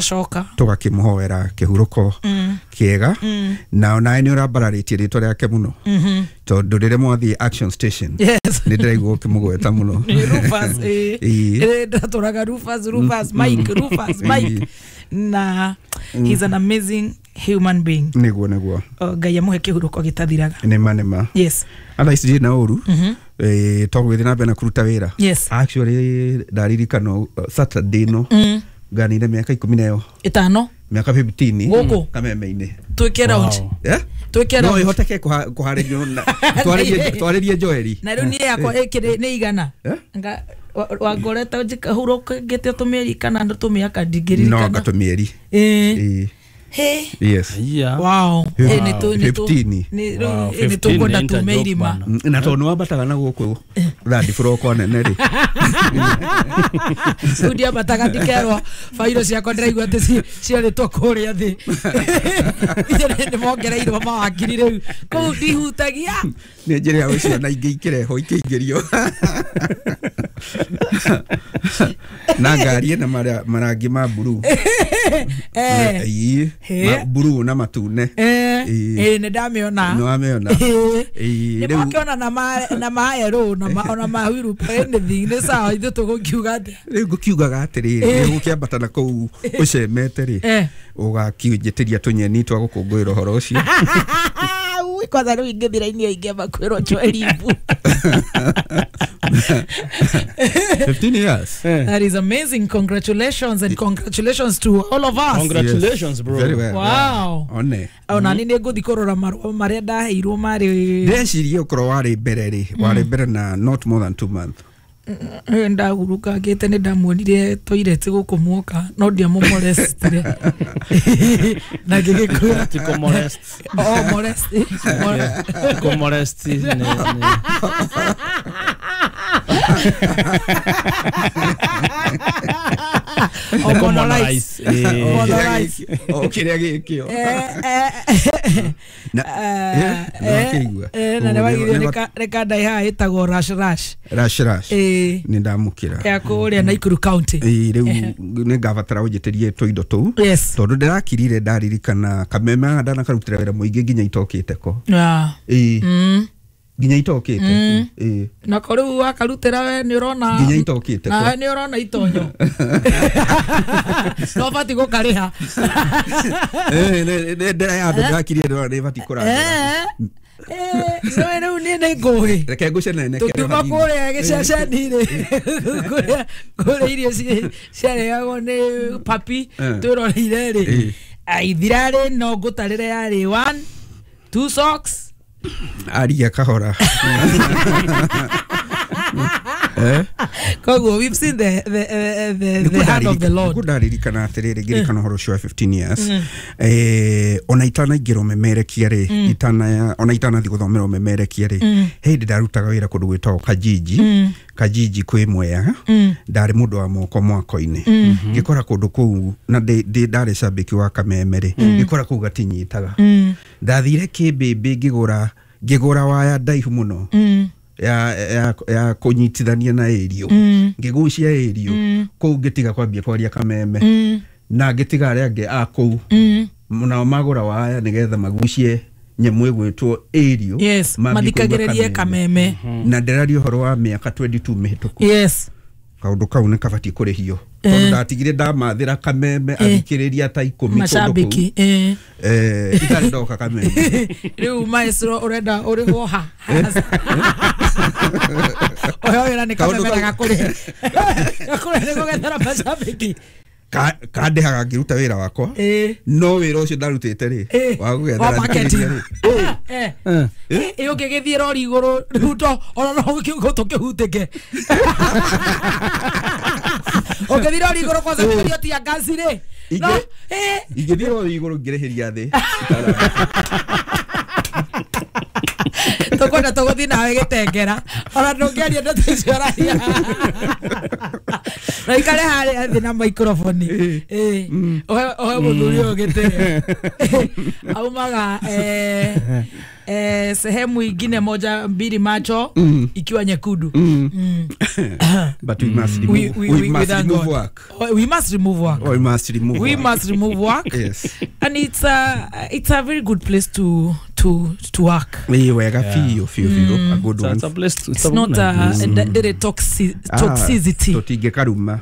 Tũgakĩmũhoera kĩhurũko mm. kĩega. Mm. Na onawe nĩ ũrambararĩtie rĩtwa rĩake mũno. Mm -hmm. Tondũ rĩrĩa mwathiĩ Action Station. Yes. Nĩ ndĩraigua ũkĩmũgweta mũno. Rufus eh. Ndatũraga Rufus Rufus Mike Rufus Mike na he's an amazing human being. Nĩguo nĩguo. Ngai amũhe kĩhurũko gĩtathiraga. Nĩma nĩma. Yes. Atha ici ndirĩ na ũru. Mm -hmm. Eh togwĩthiĩ na mbere na kũruta wĩra. Yes. Actually ndaririkana Saturday no. Mm. Nganire mĩaka ikũmi na ĩyo. Ĩtano. Mĩaka fifteen gũkũ kameme-inĩ. Twĩke round. Yeah? Twĩke round. No ihoteke kũharĩrio na twarĩrie twarĩrie Joeli. Na rĩu niĩ yakwa ĩkĩrĩ nĩ igana. Nga wangoreta njikahurũka ngĩte tũmĩeri kana tũmĩaka ndingĩririkana. No anga tũmĩeri. Eh. Hey. Yes. Yeah. Wow. Eh ni tu ni tu ni ni tukwenda tume irima. Na tondu wambataga na guku third floor kwa nene ri. Studio ambataga ndikerwo fairo ciakwa ndiraigua ati ciarĩtwo kũrĩa thĩ. Nĩ mongereirwo mawakiri rĩu. Kũu ndihutagia. Nĩ njĩra ya ciana ingĩ ikĩrehwo ikĩingĩrio. Na ngari ĩna marangi ma blue. Eh. Ma blue na matune. Eh. Eh nĩ ndamĩona. Nĩ wamĩona. Nĩ makĩona na ma na maerũ na ma ona ma wiru anything nĩ sawa ithuĩ tũgũkiuga atĩa. Rĩu ngũkiugaga atĩrĩrĩ nĩ gũkĩambata na kũu ũcemete rĩ ũgakiunjĩtĩria tũnyeni twa gũkũngũĩra ũhoro ũcio. Kwanza rĩu ingĩthira inia ingĩamba kwĩrwo njoe fifteen years. Yeah. That is amazing. Congratulations and congratulations to all of us. Congratulations, yes. Bro. Very well. Wow. Yeah. One. Ona ni nĩngũthiĩ kũrora marũa marĩa ndaheirwo marĩ ndecirie ũkorwo warĩ mbere rĩ warĩ mbere na not more than two months. Ndagurukangĩte nĩ ndamuonire toilet gũkũ muoka no ndiamũmolestire na ngĩgĩkũra ti kũmolest. Oh, molest. Kũmolest nĩ Oh, monolize. Monolize. Oh, kĩrĩa gĩkĩo. Na na nĩ reka ndai haha ĩtagwo rash rash. Rash rash. Nĩ ndamũkĩra. Ya kũrĩa Nakuru County. Ĩĩ rĩu nĩ ngabatara ũnjĩtĩrie tũindo tũu. Tondũ ndĩrakirire ndaririkana kameme haha ndanakarutĩra wĩra mũingĩ nginya itokĩte ko. Ĩĩ. Nginya itokite. Eh. Na ko riu wakarutira we ni urona nginya itokite. Na we ni urona itonyo. No bati gukariha. Eh ne ne ndira ya andu ndakirie ndona ni bati kurangura. Eh. Eh, so riu ni ni ngũĩ. Reke ngũcenene kere. Tũkiuma kũrĩa gĩceceni-rĩ, kũrĩa kũrĩa irio ciarĩagwo nĩ papi twĩroreire rĩ. Ithirarĩ no ngũtarĩre yarĩ one, two socks. Aria kahora. Eh? Koguo we've seen the the the the hand of the Lord. Nĩkũndaririkana atĩrĩrĩ ngĩririkana ũhoro ũcio wa fifteen years. Eh ona itanaingĩra ũmemerekia rĩ, itana ona itanathiĩ gũthomera ũmemerekia rĩ, he hĩndĩ ndarutaga wĩra kũndũ gwĩtagwo Kajiji. Kajiji kwĩ Mwea. Ndarĩ mũndũ wa moko mwako-inĩ. Ngĩkora kũndũ kũu na ndĩ ndarĩ cambĩki wa Kameme rĩ, ngĩkora kũu gatinyitaga. Ndathire Kĩmbĩmbĩ ngĩgũra ngĩgũra waya ndaihu mũno. Ya ya ya kunyitithania na ĩrio ngĩgucia ĩrio kũu ngĩtiga kwambia kwaria Kameme na ngĩtiga arĩa angĩ a kũu nao magũra waya nĩgetha magucie nyamũ ĩgwĩtwo ĩrio. Yes, mathikagĩrĩrie Kameme. Na ndĩraria ũhoro wa mĩaka twenty-two mĩhĩtũku. Yes. Kaũndũ kau nĩ kabatiĩ kũrĩhio tondũ ndatigire ndamathĩra Kameme athikĩrĩria ta ikũmi macambĩki eh eh itarĩ ndoka Kameme. Rĩu maestro ũrenda ũrĩhwo ha oyo wĩra nĩ Kameme na gakũrĩhe gakũrĩhe nĩ gũgethera macambĩki kandĩhaga ngĩruta wĩra wakwa no wĩra ũcio ndarutĩte rĩ wa gũgethera marketing eh eh ũngĩgĩthiĩ rori igũrũ rĩu to ona no gũtũ kĩhutĩke ũngĩthiĩ rori igũrũ kwanza kũgerio tia ngaci rĩ no eh ingĩthiĩ rori igũrũ ngĩrĩhĩria thĩ tũkwenda tũgũthiĩ nawe gĩtengera ona ndũngĩaria ndeto icio ũraria na ikare harĩa thĩ na microphone eh ohe ohe mũthuri ũyũ gĩtĩo aumaga eh eh sehemu ingine moja mbili macho mm. ikiwa nyekundu. Mm. Mm. But we must remove, we, we, we, we, must we remove God. work. We must remove work. We must remove we work. must remove work. Yes. And it's a it's a very good place to to to work. We wega feel feel feel a good one. It's a place to, it's not a ndere toxic toxicity. Totige karuma.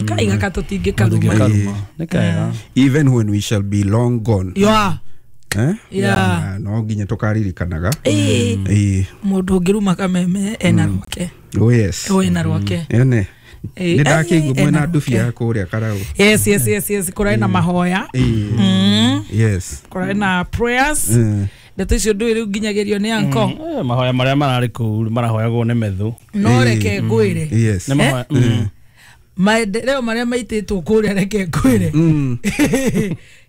Kaiga ka totige karuma. Even when we shall be long gone. Yeah. Eh? Yeah. No nginya tukaririkanaga. Eh. Eh. Mundu ngiruma Kameme ena rwake. Oh yes. Oh ena rwake. Ene. Nĩ ndakĩigua mwena ndubia kũrĩa Karau. Yes yes yes yes kũrarĩ na mahoya. Mm. Yes. Kũrarĩ na prayers. Ndeto icio ndũĩ rĩu nginyagĩrio nĩ anko. Mahoya marĩa mararĩ kũu marahoyagwo nĩ methu. No reke ngwĩre. Yes. Nĩ mahoya. Maendeleo marĩa maitĩtwo kũrĩa reke ngwĩre.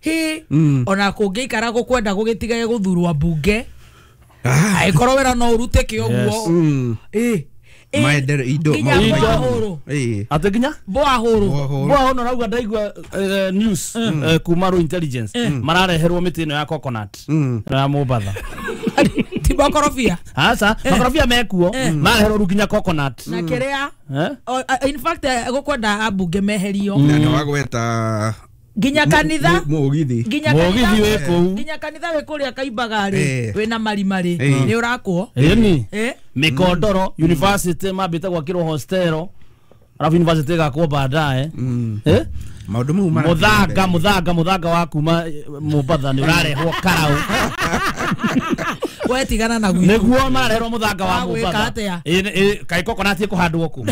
Hi ona kũngĩikara gũkwenda gũgĩtigage gũthurwo mbunge. Angĩkorwo wĩra no ũrutĩke ũguo. Ĩ maendeleo indo maũndũ eh ate nginya boa huru boa huru rauga ndaigua news kuma ru intelligence marareherwo mĩtĩ ĩno ya coconut ya Mombatha ti makorobia aca makorobia mekuo marareherwo ru nginya coconut na kĩrĩa in fact gũkwenda ambunge meherio na nĩ wagweta nginya kanitha mugithi nginya mugithi wĩ kũu nginya kanitha wĩ kũrĩa Kaimbaga rĩ wĩna marima rĩ nĩ ũrakwo ĩni Mikondoro university mambĩte gwakĩrwo hostelo arabu university ĩgakwo baadaye eh maũndũ mau mara muthanga muthanga muthanga wa kuma Mombatha nĩ ũrarehwo Karau we tigana na gwitũ nĩguo marareherwo muthanga wa Mombatha ĩ kaĩ coconut ĩkũhandwo kũ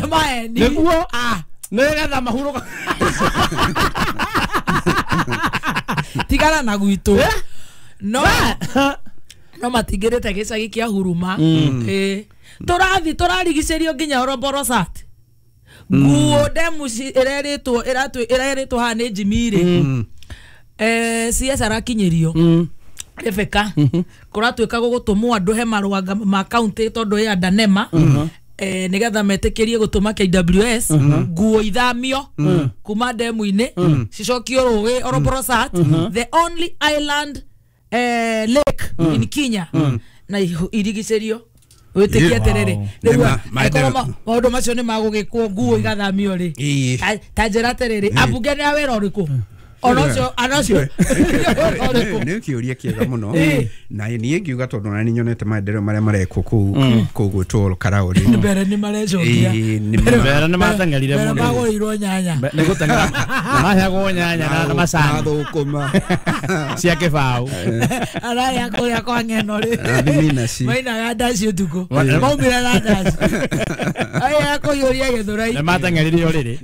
nĩguo ah nĩgetha mahurũka tigana na gwitũ no no matigĩrĩte gĩcagi kĩa Huruma eh tũrathi tũrarigicĩrio nginya Oroborosat nguo ndemu ĩrerĩtwo ĩratũ ĩrerĩtwo haha nĩ Jimmy rĩ eh C S arakinyĩrio Rebecca kũratuĩka gũgũtũmwo andũ he marũa ma county tondũ ya Danema eh nigetha metĩkĩrie gũtũma K W S nguo ithamio kuma ndemu-inĩ cicokio rũĩ Oroborosat the only island eh lake in Kenya na irigicĩrio wĩtĩkie atĩrĩrĩ rĩu angĩkorwo maũndũ macio nĩ magũgĩkwo nguo igathamio rĩ ta njĩra atĩrĩrĩ ambunge nĩ a wĩra ũrĩkũ Ona ũcio ona ũcio nä kä å ria kä ega må no na niä ngiuga tondå na nä nyonete maendereo marĩa marekwo kũu kũu gwĩtwo Karaũrĩ. Mbere nĩ marecokia. Mbere nĩ mateng'erire Mbere mũno. Magũrĩirwo nyanya. Nĩ gũteng'era maheagwo nyanya na macani na thũkũma cia kĩbaũ. Araya kũrĩa kwa ng'eno rĩ. Na thibinaci. Mainaga ndaci ũtukũ. Maumire na ndaci. Aya kũiyũria gĩthũrai. Nĩ mateng'erire ũrĩrĩ.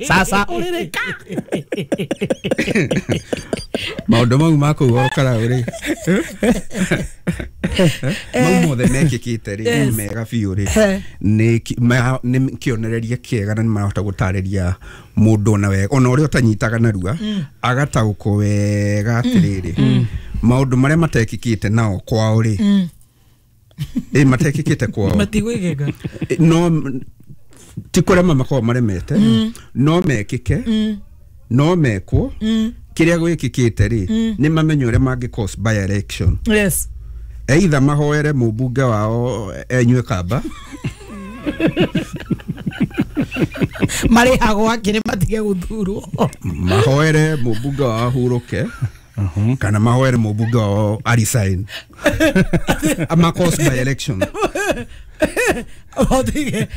Sasa ũrĩrĩ ka. Maũndũ mau ma kũu Karaũrĩ mau mothe mekĩkĩte rĩ mega biũ rĩ nĩ nĩ kĩonereria kĩega na nĩ marahota gũtarĩria mũndũ ona wega ona ũrĩa ũtanyitaga narua agataũkwo wega atĩrĩrĩ maũndũ marĩa matekĩkĩte nao kwao rĩ ĩ matekĩkĩte kwao matigwĩkĩka no ti kũrema makoragwo maremete no mekĩke no mekwo kĩrĩa gwĩkĩkĩte rĩ nĩ mamenye ũrĩa mangĩ cause by election. Yes. Either mahoere mũmbunge wao enyue kamba marĩhagwo akĩrĩ matige gũthurwo mahoere mũmbunge wao ahurũke kana mahoere mũmbunge wao a resign ama cause by election.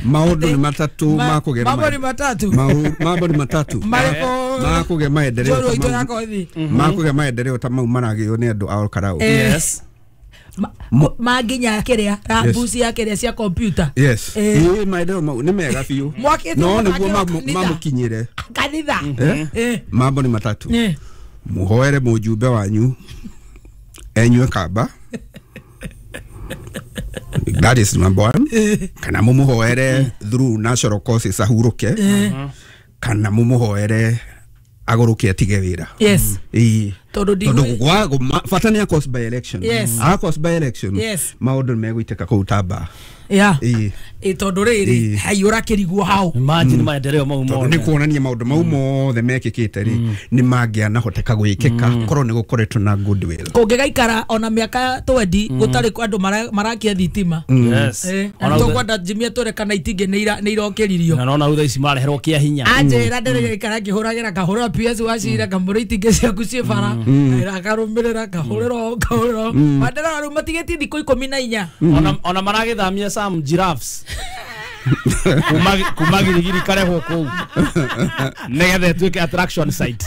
Maũndũ nĩ matatũ makũgĩa mambo nĩ matatu mambo nĩ matatu makũgĩa maendeleo makũgĩa maendeleo ta mau maragĩo nĩ andũ a Karaũ. Yes. Manginya kĩrĩa rambuci ya kĩrĩa cia computer. Yes. Ĩ maendeleo mau nĩ mega biũ no nĩguo mamũkinyĩre kanitha. Mambo nĩ matatu muhoere mũjumbe wanyu enyue kamba. That is number one. Kana mumuhoere through natural causes ahuruke kana mumuhoere agũrũke atige wĩra. Yes. Ĩĩ. Tondũ Tondũ gwa bata nĩ a cause by election. Yes. A cause by election. Yes. Maũndũ nĩ megũitĩka kũu tamba. Yeah. Ĩĩ. Ĩ tondũ rĩrĩ haiyũra kĩrigwo hau. Imagine maendeleo mau mothe. Tondũ nĩ kuonania maũndũ mau mothe mekĩkĩte rĩ nĩ mangĩanahoteka gwĩkĩka korwo nĩ gũkoretwo na goodwill. Kũngĩgaikara ona mĩaka twendi gũtarĩ andũ marakia thitima. Yes. Ona tũkwenda Jimmy atwĩre kana itingĩ nĩ irokĩririo. Na nona rĩu thaa ici mareherwo kĩa hinya. Anjĩra ndĩrĩgaikara ngĩhũragĩra ngahũrĩra P S wa cira ngamũra itingĩ ciaku ciĩ bara. Akarũmĩrĩra ngahũrĩra ngahũrĩra. Maendeleo rĩu matigĩtie thikũ ikũmi na inya. Ona ona maragĩthamia some giraffes kuma kuma girigiri karehwo kũu nĩgetha ĩtuĩke attraction site.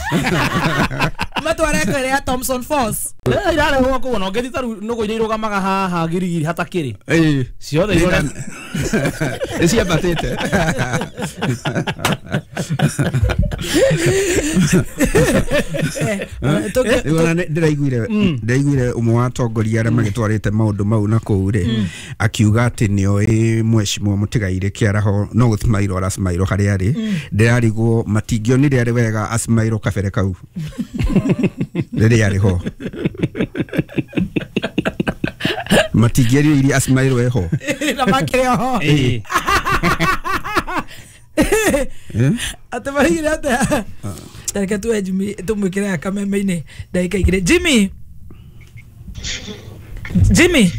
Matware kũrĩa ya Thompson Falls. Eh irarehwo kũu ona ũngĩthiĩ ta rĩu nũgũ iria irũgamaga haha girigiri hatakĩrĩ ciothe irore nĩ ciambatĩte. Ndĩraiguire ndĩraiguire ũmwe wa atongoria arĩa magĩtwarĩte maũndũ mau na kũu rĩ akiuga atĩ nĩoĩ mheshimiwa Mũtigairĩ Kĩaraho no gũcimairwo aracimairwo harĩa arĩ ndĩrarigwo matingĩonire arĩ wega acimairwo kabere kau rĩrĩa arĩ ho matingĩerire acimairwo eho na makĩrĩ oho atĩ marigire atĩa tareke tuwe Jimmy tumwĩkĩre kameme-inĩ ndagĩka igĩrĩ. Jimmy Jimmy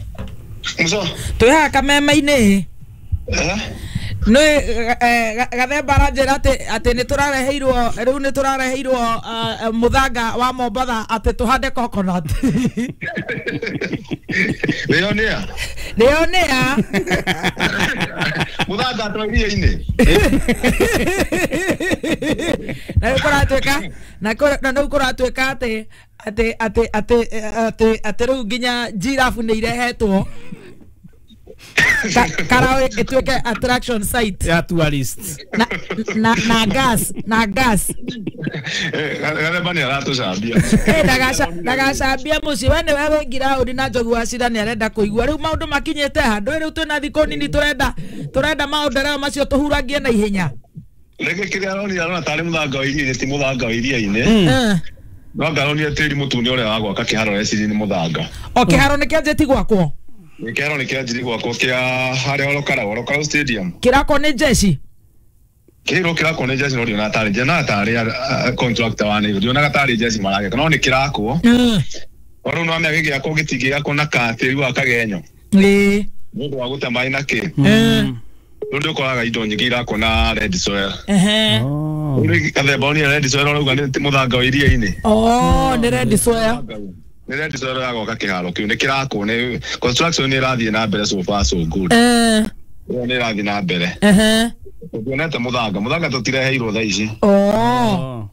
twĩ haha kameme-inĩ nĩ Gathemba aranjĩra atĩ atĩ nĩ tũrareheirwo rĩu nĩ tũrareheirwo mũthanga wa Mombatha atĩ tũhande coconut. Nĩyo nĩa? Nĩyo nĩa? Mũthanga twa iria-inĩ. Na rĩu kũratuĩka na rĩu kũratuĩka atĩ atĩ atĩ atĩ atĩ atĩ rĩu nginya giraffe nĩ irehetwo Karaũ ĩtuĩke attraction site ya tourist na na na gas na gas. Gathemba nĩ aratũcambia. Eh ndagacambia mũciĩ we nĩwe wĩ ngiraũndi na Njogu wa Cira nĩ arenda kũigua rĩu maũndũ makinyĩte handũ rĩu twĩna thikũ nini tũrenda tũrenda maũndũ macio tũhurangie na ihenya. Rĩngĩ kĩrĩa aronire arona tarĩ mũthanga wa iria-inĩ ti mũthanga wa iria-inĩ no anga aronire tĩri mũtune ũrĩa wa gwaka kĩharo ecirie nĩ mũthanga. O kĩharo nĩ kĩanjĩti gwakwo? Nĩ kĩharo nĩ kĩanjiri gwakwo kĩa harĩa Olokarau Olokarau Stadium. Kĩrakwo nĩ jeshi? Kĩharo kĩrakwo nĩ jeshi no ndionaga tarĩ ndionaga tarĩ contractor wa Nairobi ndionaga tarĩ jeshi maragĩka no nĩ kĩrakwo. O rĩu nĩwamenya gĩgĩakwo gĩtingĩakwo na katĩri wa kagenyo. Ĩĩ. Nĩ ũndũ wa gũte maĩ na kĩ. Rĩu nĩ ũkoraga indo nyingĩ irakwo na red soil. Ehe. Rĩu gathemba ũnĩ red soil ũrauga nĩ mũthanga wa iria-inĩ. Oh, nĩ red soil. Nĩ red soil ya gwaka kĩharo kĩu nĩ kĩrakwo, nĩ construction nĩ ĩrathiĩ na mbere, so far so good. Eh. Ĩyo nĩ ĩrathiĩ na mbere. Ehe. Tuonete mũthanga, mũthanga tũtireheirwo thaa ici. Oh.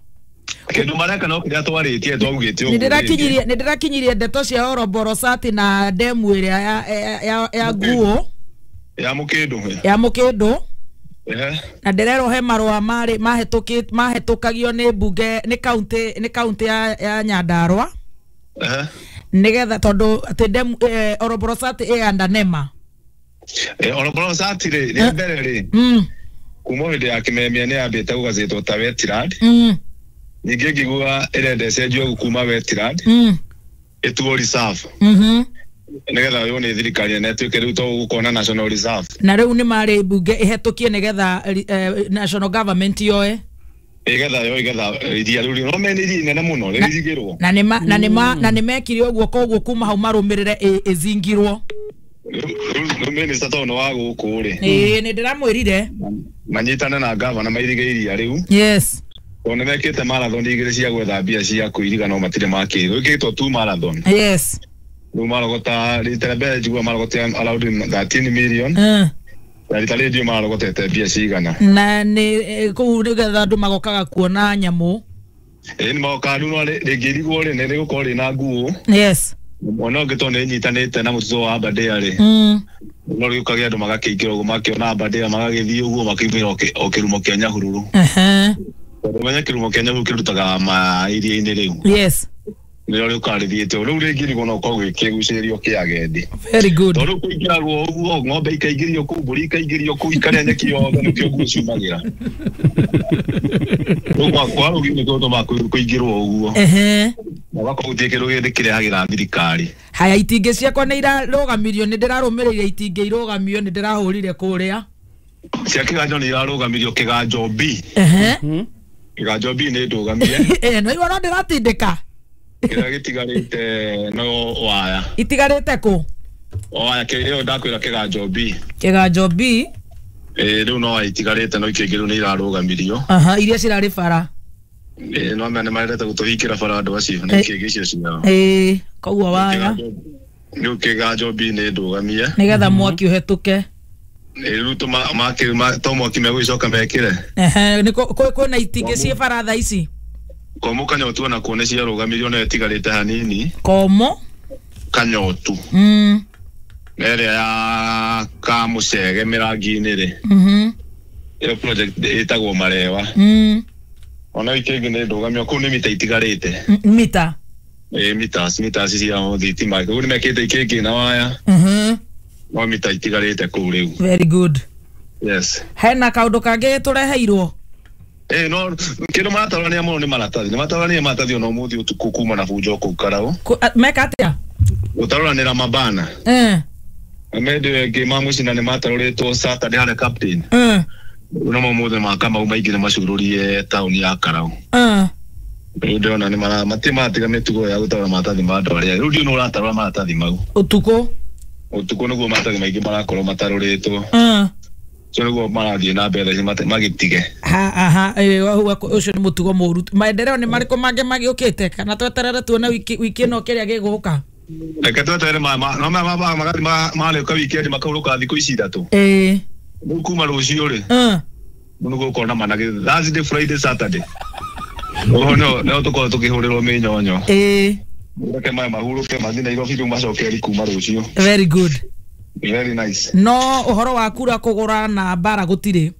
Kĩndũ mareka no kĩrĩa twarĩtie twaugĩte ũguo. Nĩ ndĩrakinyirie nĩ ndĩrakinyirie ndeto cia Oroborosati na demu ĩrĩa ya ya ya nguo ya mũkĩndũ ya mũkĩndũ. Ehe. Na ndĩrerwo he marũa marĩ mahĩtũkĩte mahĩtũkagio nĩ mbunge nĩ county nĩ county ya ya Nyandarua. Ehe. Nĩgetha tondũ atĩ demu eh, Oroborosati ĩ under NEMA. Eh, Oroborosati rĩ rĩa mbere rĩ. Mm. Kuma hĩndĩ ya Kimemia nĩ yambĩte gũgacĩtwo ta wetland. Mm. Ningĩ ngĩigua ĩrenda ĩcenjio kuma wetland. Mm. Ĩtuo reserve. Mhm. Nĩgetha yone thirikari na ĩtuĩke rĩu to gũkona national reserve. Na rĩu nĩ marĩ mbunge ĩhetũkie nĩgetha eh, national government yoe. Ĩgetha yo ĩgetha iria rĩu no mene iria inene mũno rĩrigĩrwo. Na nĩ na nĩ na nĩ mekire ũguo koguo kuma hau marũmĩrĩre ĩzingirwo. Rĩu minister tondũ wa gũkũ rĩ. Ĩĩ nĩ ndĩramwĩrire. Manyitane na gavana mairige iria rĩu. Yes. Tondũ nĩ mekĩte marathon igĩrĩ cia gwetha mbia cia kũiriga no matirĩ makĩrwo. Ĩkĩtwo two marathon. Yes. Rĩu marogota rita rĩa mbere njigua marogota around thirteen million. Mm. Na rita rĩrĩ ndiũ marogotete mbia cigana. Na nĩ kũu nĩgetha andũ magokaga kuona nyamũ. Ĩĩ nĩ magokaga rĩu no rĩngĩrigwo rĩ nĩ rĩgũkorwo rĩna nguo. Yes. Mwena ũngĩ tondũ nĩ ĩnyitanĩte na mũtitũ wa Aberdare rĩ. Mm. No rĩũkage andũ magakĩingĩra ũguo makĩona Aberdare magagĩthiĩ ũguo makiumĩra o kĩrumo kĩa Nyahururu. Ehe. Tondũ menye kĩrumo kĩa Nyahururu kĩrutaga ma iria-inĩ rĩu. Yes. Nĩrĩo rĩũkaga rĩthiĩte rĩu rĩngĩrigwo no ũkorwo gĩkĩgucĩrĩrio kĩa agendi. Very good. Tondũ rĩu kũingĩragwo ũguo ng'ombe ikaingĩrio kũu, mbũri ikaingĩrio kũu, ikarĩa nyeki yothe nĩkĩo nguo ciumagĩra. Rĩu kwa kwa rũgi nĩkĩo tũmaga kũingĩrwo ũguo. Ehe. Na ũgakorwo gũtirĩ kĩndũ gĩthĩ kĩrehagĩra thirikari. Haya itingĩ ciakwa nĩ irarũgamirio nĩ ndĩrarũmĩrĩire itingĩ irũgamio nĩ ndĩrahũrire kũrĩa. Cia kĩganjo nĩ irarũgamirio kĩganjo B. Ehe. Kĩganjo B nĩ ndũgamie. Eh, no iwa no ndĩratindĩka. Kĩrĩa gĩtigarĩte no waya. Itigarĩte kũ? Waya kĩrĩa ndakwĩra kĩganjo B. Kĩganjo B. Eh, rĩu no waya itigarĩte no ikĩngĩ rĩu nĩ irarũgamirio. Aha, iria cirarĩ bara. Eh, no mene marendete gũtũhingĩra bara andũ acio nĩ ikĩngĩ icio ciao. Eh, koguo waya. Rĩu kĩganjo B nĩ ndũgamie. Nĩgetha mwaki ũhetũke. Rĩu tũ to mwaki megũgĩcoka mekĩre. Ehe, nĩ kwĩna itingĩ ciĩ bara thaa ici. Komo Kanyotu ona kuo nĩ ciarũgamirio no ĩtigarĩte hanini. Komo Kanyotu. Mm. Na ĩrĩa ya Kamũcege mĩrangi-inĩ rĩ. Mhm. Ĩyo project ĩtagwo Marewa. Mm. Ona ikĩngĩ nĩ ndũgamio kũu nĩ mita itigarĩte. Mita. Ĩ mita, mita cia thitima. Kũu nĩ mekĩte ikĩngĩ na waya. Mhm. No mita itigarĩte kũu rĩu. Very good. Yes. Hena kaũndũ kangĩ tũreheirwo. Eh no kĩndũ maratarania mũno nĩ maratathi. Nĩ matarania maratathi ona ũmũthĩ ũtukũ kuma na bunjo kũu Karau. Meka atĩa? Gũtarũranĩra mabana. Eh. Amende wengĩ ma mũcina nĩ matarũrĩtwo Saturday harĩa captain. Eh. No mũthĩ ma Kamau maingĩ nĩ macurũrie taũni ya Karau. Eh. Rĩu ndĩrona nĩ mara matirĩ maratiga mĩtugo ya gũtarũra maratathi ma andũ arĩa. Rĩu ndiũ nĩ ũratarũra maratathi mau. Ũtukũ. Ũtukũ nĩguo maratathi maingĩ marakorwo matarũrĩtwo. Eh. Ũcio nĩguo marathiĩ na mbere magĩtige. Ha aha, ũcio nĩ mũtugo mũru. Maendeleo nĩ marĩkũ mangĩ magĩũkĩte kana tweterere tuone wiki wiki ĩno kĩrĩa gĩgũka? Reke tweterere ma no ma magathi marĩũka weekend makaurũka thikũ ici ithatũ. Ĩĩ. Rĩu kuma rũciũ rĩ. Mm. Nĩ gũkorwo na managĩ Thursday, Friday, Saturday. Ũguo no no tũkorwo tũkĩhũrĩrwo mĩnyonyo. Ĩĩ. Reke maya mahurũke mathiĩ Nairobi rĩu macoke kuma rũciũ. Very good. Very nice. No ũhoro wa kura kũgũra na mbara gũtirĩ.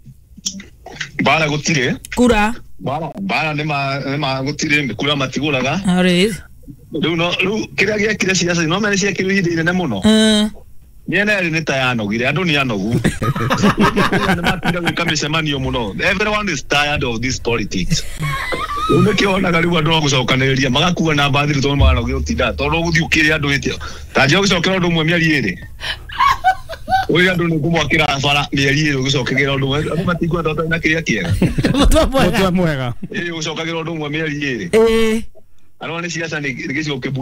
Mbara gũtirĩ. Kura. Mbara mbara nĩ ma nĩ ma gũtirĩ kura matigũraga. Alright. Rĩu no rĩu kĩrĩa gĩekire ciaca no mene ciekire ihinda inene mũno. Mm. Mĩena ĩrĩ nĩ ta yanogire andũ nĩ anogu. Nĩ matinda gwĩka mĩcemanio mũno. Everyone is tired of this politics. Rĩu nĩkĩo wonaga rĩu andũ a gũcokanĩrĩria magakua na mbathiri tondũ maranogio gũtinda tondũ ũgũthiĩ ũkĩre andũ hĩtio. Ta njĩra gũcokera ũndũ ũmwe mĩeri ĩrĩ. Ũyũ andũ nĩ kũmwakĩra bara mĩeri ĩrĩ ũgĩcokagĩra ũndũ ũmwe andũ matingwenda ũtarĩ na kĩrĩa kĩega. Mũtwe mwega. Mũtwe mwega. Ĩĩ ũcokagĩra ũndũ ũmwe mĩeri ĩrĩ. Ĩĩ. Arona nĩ ciaca nĩ gĩcigo kĩmbu